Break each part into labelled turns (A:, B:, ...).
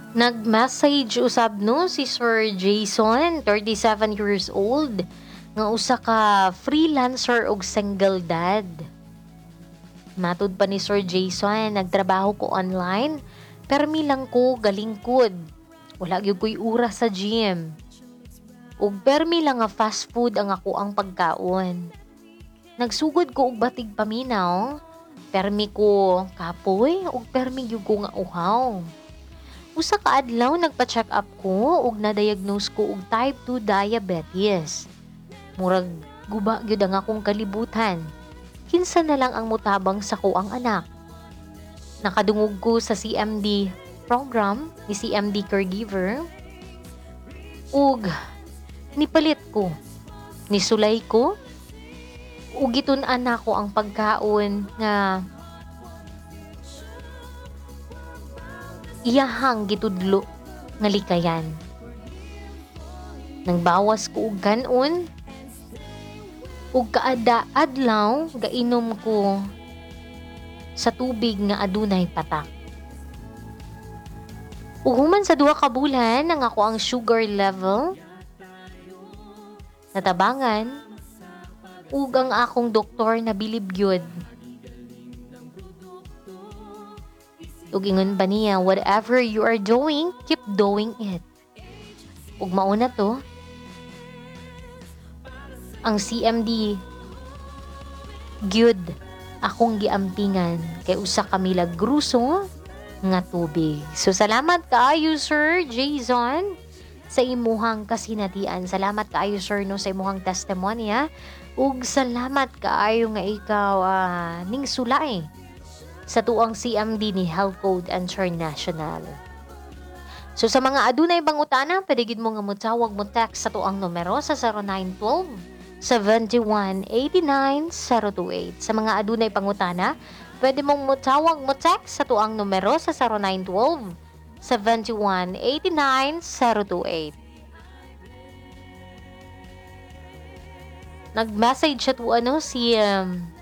A: Nag-message usab no si Sir Jason, 37 years old, nga usa ka freelancer og single dad. Matud pa ni Sir Jason, nagtrabaho ko online, permi lang ko galingkod. Wala gyud ko'y oras sa gym. Ug permi lang nga fast food ang ako ang pagkaon. Nagsugod ko og batig paminaw, permi ko kapoy ug permi gyud ko nga uhaw. Usa ka adlaw nagpa-check up ko ug na-diagnose ko og type 2 diabetes. Murag guba gyud ang akong kalibutan. Kinsa na lang ang mutabang sa kuang anak. Nakadungog ko sa CMD program ni CMD caregiver ug nipalit ko. Nisulay ko ug gitun-an nako ang pagkaon nga iyahang gitudlo nga likayan. Nang bawas ko og kanon ug kaada adlaw gainom ko sa tubig nga adunay patak. Ug human sa 2 ka bulan ang ako ang sugar level natabangan ug ang akong doktor nabilib gyud. Ug ingon ba niya, whatever you are doing, keep doing it. Ug mauna to, ang CMD gyud akong giampingan kay usa ka milagruso nga tubig. So salamat kaayo Sir Jason sa imuhang kasinatian. Salamat kaayo sir no sa imuhang testimonya. Ug salamat kaayo nga ikaw ning sulay sa tuang CMD ni Health Code International. So sa mga adunay pangutana, pwede gid mo nga motawag mo text sa tuang numero sa 0912 71 89 028. Sa mga adunay pangutana, pwede mong motawag mo text sa tuang numero sa 0912 71 89 028. Nag-message siya to ano si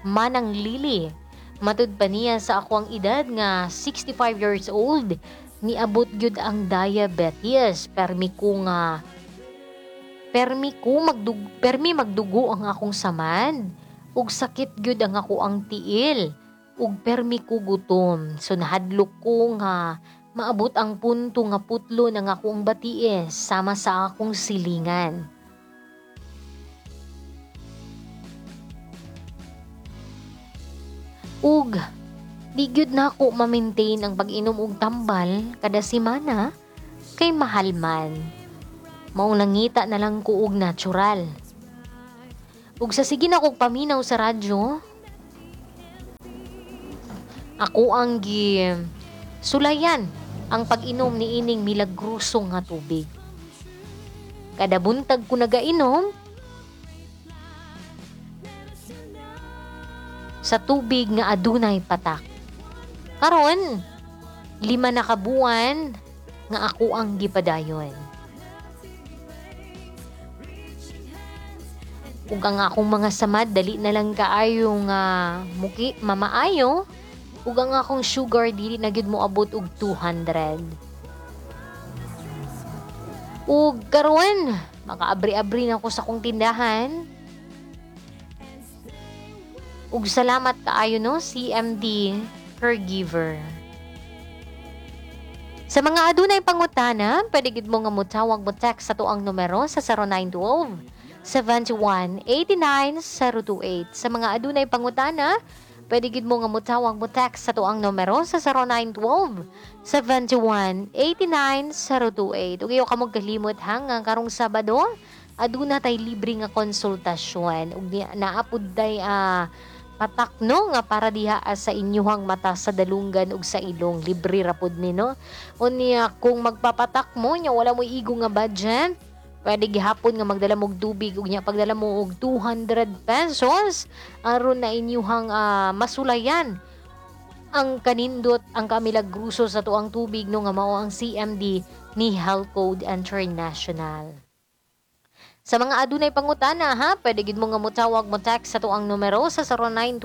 A: Manang Lily. Matud pa niya sa ako ang edad nga 65 years old, niabot gyud ang diabetes. Permi ko nga permi ko magdug permi magdugo ang akong samad ug sakit gyud ang ako ang tiil ug permi ko gutom. So nahadlok ko nga maabot ang punto nga putlo ng akong batiis sama sa akong silingan. Ug di gyud nako ma-maintain ang pag-inom og tambal kada semana kay mahal man. Maong nangita na lang ko og natural. Ug sa sige na kog paminaw sa radyo, ako ang gi sulayan ang pag-inom ni ining milagruso nga tubig. Kada buntag ko nagainom sa tubig nga adunay patak. Karon, 5 na ka buwan nga ako ang gipadayon. Ug ang akong mga samad dali na lang kaayo nga muki mamaayo, ug ang akong sugar dili na gyud moabot og 200. Ug karon, makaabri-abri na ko sa akong tindahan. Ug salamat kaayo no CMD caregiver. Sa mga adunay pangutana, pwede gid mo nga motawag mo text sa tuang numero sa 0912 71 89 028. Sa mga adunay pangutana, pwede gid mo nga motawag mo text sa tuang numero sa 0912 71 89 028. Ug iyo ka mo kalimot ha nga karong Sabado aduna tay libre nga konsultasyon ug naapod tay patak no nga para diha sa inyuhang mata, sa dalunggan ug sa ilong, libre ra pud ni no. Unya kung magpapatak mo nya wala mo igo nga budget, pwede gihapon nga magdala mo og tubig ug nya pagdala mo og 200 pesos aron na inyuhang masulayan ang kanindot ang kamilagruso sa tuang tubig no nga mao ang CMD ni Health Code International. Sa mga adunay pangutana ha, pwede gid mo nga motawag mo text sa tuang numero sa 0912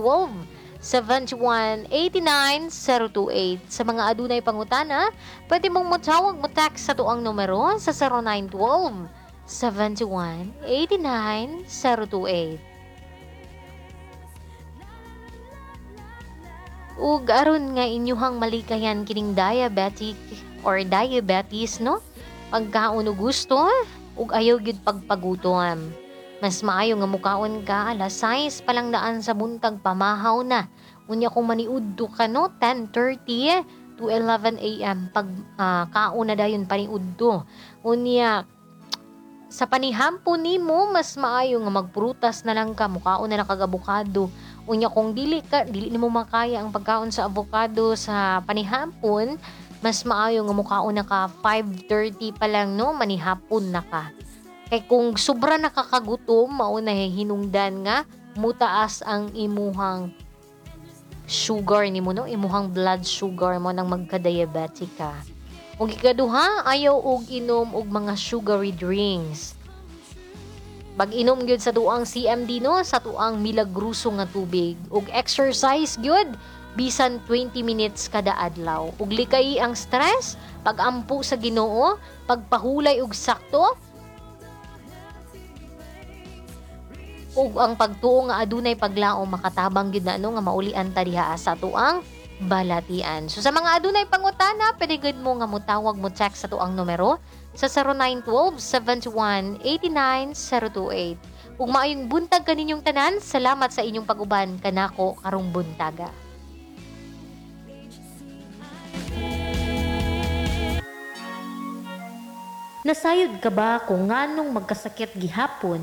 A: 71 89 028. Sa mga adunay pangutana, pwede mong motawag, mo text sa tuang numero sa 0912 71 89 028. Ug aron nga inyuhang malikayan kining diabetic or diabetes, no? Pagkaon og gusto ug ayaw gyud pagpagutom. Mas maayo nga mukaon ka alas 6 pa lang daan sa buntag, pamahaw na. Unya kung maniudto ka, no, 10:30 to 11 a.m. pag kaon na dayon paniudto. Unya sa panihampon nimo, mas maayo nga magprutas na lang ka, mukaon na lang kag abokado. Unya kung dili nimo makaya ang pagkaon sa avocado sa panihampon, mas maayo nga mukaon na ka 5:30 pa lang, no, manihapon na ka. Kay kung sobra nakakagutom, mao na hinungdan nga mutaas ang imuhang sugar nimo, no, imuhang blood sugar mo nang magka-diabetic ka. Ug ikaduha, ayaw og inom og mga sugary drinks. Pag-inom gyud sa tuang CMD, no, sa tuang milagruso nga tubig. Ug exercise gyud bisan 20 minutes kada adlaw. Ug likay ang stress, pag-ampo sa Ginoo, pagpahulay og sakto, ug ang pagtuo nga adunay paglaom makatabang gyud na, no, nga maulian ta diha sa tuang balatian. So sa mga adunay pangutana, pwede gud mo nga motawag, mo text sa tuang numero sa 0912 71 89 028. Ug maayong buntag kaninyong tanan. Salamat sa inyong pag-uban kanako karong buntaga. Nasayod ka ba kung nganong magkasakit gihapon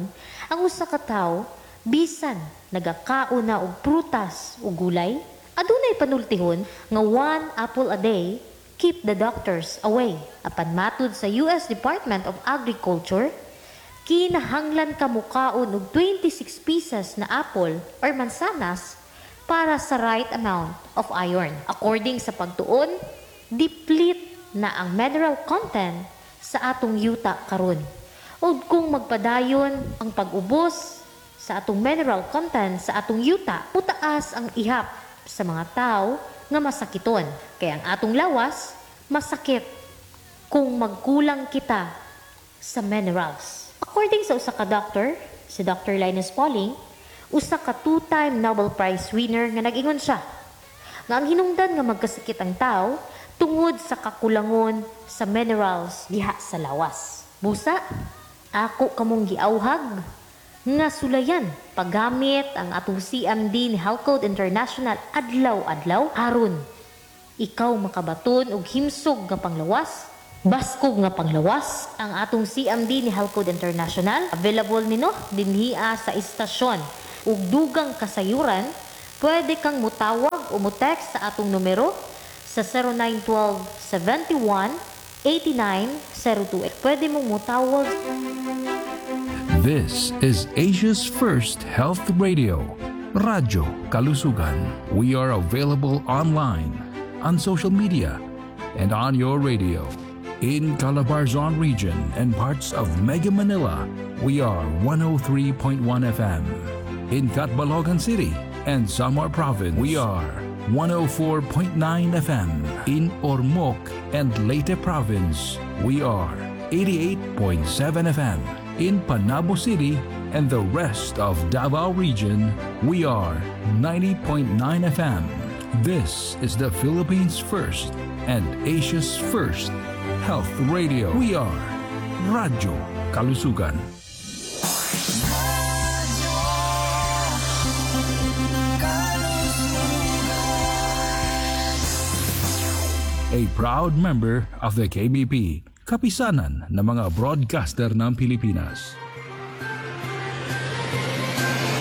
A: ang usa ka tawo bisan nagakaon na og prutas o gulay? Adunay panultihon nga one apple a day keep the doctors away. Apan matud sa US Department of Agriculture, kinahanglan ka mukaon og 26 pieces na apple or mansanas para sa right amount of iron. According sa pagtuon, deplete na ang mineral content sa atong yuta karon. Ug kung magpadayon ang pag-ubos sa atong mineral content sa atong yuta, mutaas ang ihap sa mga tao nga masakiton. Kaya ang atong lawas masakit kung magkulang kita sa minerals. According sa usa ka doctor, si Dr. Linus Pauling, usa ka two-time Nobel Prize winner, nga nag-ingon siya nga ang hinungdan nga magkasakit ang tao tungod sa kakulangon sa minerals diha sa lawas. Busa, ako kamong giauhag nga sulayan paggamit ang atong CMD ni Health Code International adlaw-adlaw aron ikaw makabaton og himsog nga panglawas, baskog nga panglawas. Ang atong CMD ni Health Code International available nino dinhia sa istasyon. Ug dugang kasayuran, pwede kang mutawag o mo-text sa atong numero sa 0912 71 89 028. Pwede mong mutawag.
B: This is Asia's first health radio, Radyo Kalusugan. We are available online, on social media, and on your radio. In Calabarzon region and parts of Mega Manila, we are 103.1 FM. In Catbalogan City and Samar Province, we are 104.9 FM. In Ormoc and Leyte Province, we are 88.7 FM. In Panabo City and the rest of Davao Region, we are 90.9 FM. This is the Philippines' first and Asia's first health radio. We are Radyo Kalusugan. A proud member of the KBP, Kapisanan ng mga Broadcaster ng Pilipinas.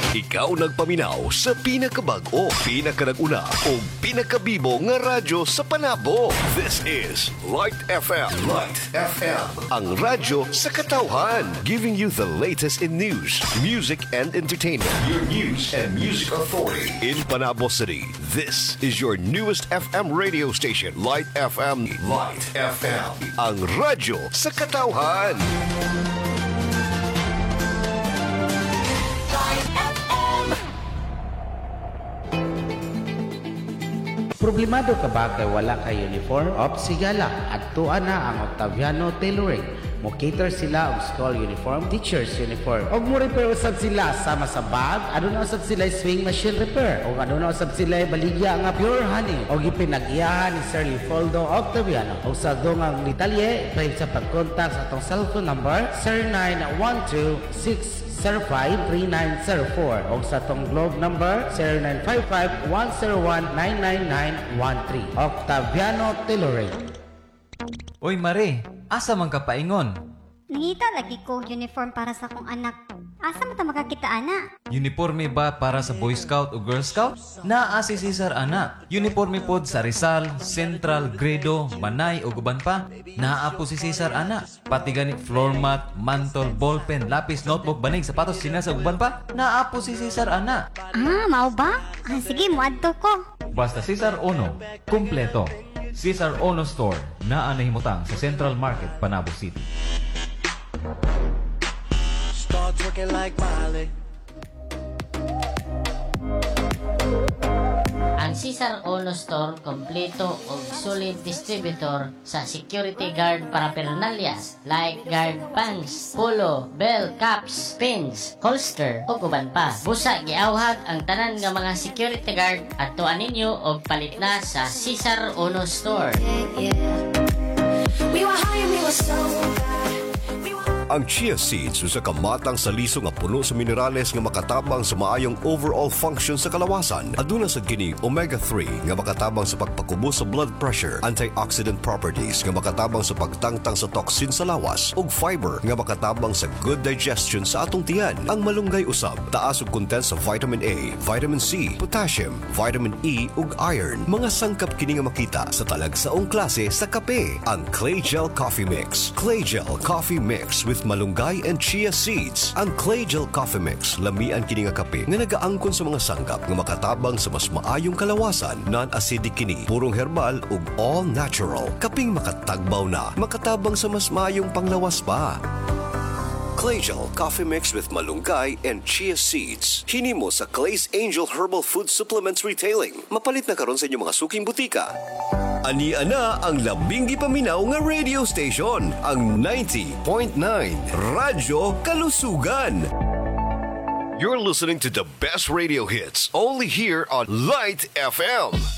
C: Ikaw nagpaminaw sa pinakabag-o, pinakanag-una o pinakabibo nga radyo sa Panabo. This is Light FM. Light FM. Ang radyo sa katawhan. Giving you the latest in news, music, and entertainment. Your news and music authority in Panabo City. This is your newest FM radio station, Light FM. Light FM. Ang radyo sa katawhan.
D: Light FM. Problemado ka ba kay wala kay uniform? Op sigala, adtuan na ang Octaviano Tailoring. Mo cater sila og school uniform, teachers uniform. Og mo repair usab sila sama sa bag, aduna usab sila sewing machine repair. Og aduna usab sila baligya nga pure honey. Og ipinag-iyahan ni Sir Leopoldo Octaviano. Og sa dungang detalye, pwede sa pag-contact sa atong cellphone number 0912 605-3904 o sa atong Globe number 0955-101-99913. Octaviano Tailoring.
E: Uy Mare, asa man ka paingon?
F: Nangita lagi ko uniform para sa akong anak. Asa man ta makakita ana?
E: Uniforme ba para sa Boy Scout o Girl Scout? Naa si Cesar ana. Uniforme pod sa Rizal, Central, Gredo, Manay ug uban pa. Naa po si Cesar ana. Pati gani floor mat, mantol, ballpen, lapis, notebook, banig, sapatos, tsinelas ug uban pa. Naa po si Cesar ana.
F: Ah, mao ba? Ah, sige, muadto ko.
E: Basta Cesar Ono, kumpleto. Cesar Ono Store, naa nahimutang sa Central Market, Panabo City.
G: Start twerking like Miley.
H: Ang Cesar Ono Store kompleto og solid distributor sa security guard paraphernalias like guard pants, polo, bell, caps, pins, holster ug uban pa. Busa giawhag ang tanan nga mga security guard adtuan ninyo og palit na sa Cesar Ono Store.
I: We were high and we were so bad.
C: Ang chia seeds usa ka matang sa liso nga puno sa minerales nga makatabang sa maayong overall function sa kalawasan. Aduna sad kini omega-3 nga makatabang sa pagpakubo sa blood pressure, antioxidant properties nga makatabang sa pagtangtang sa toxin sa lawas, ug fiber nga makatabang sa good digestion sa atong tiyan. Ang malunggay usab taas og content sa vitamin A, vitamin C, potassium, vitamin E ug iron. Mga sangkap kini nga makita sa talagsaong klase sa kape. Ang Clay Gel Coffee Mix. Clay Gel Coffee Mix with malunggay and chia seeds. Ang Clay Gel Coffee Mix, lamian kini nga kape nga nagaangkon sa mga sangkap nga makatabang sa mas maayong kalawasan, non-acidic kini, purong herbal ug all natural. Kaping makatagbaw na, makatabang sa mas maayong panglawas pa. Claygel Coffee Mix with malunggay and chia seeds. Hinimo sa Clay's Angel Herbal Food Supplements Retailing. Mapalit na karon sa inyong mga suking butika. Ani ana ang labing gipaminaw nga radio station, ang 90.9 Radyo Kalusugan. You're listening to the best radio hits only here on Light FM.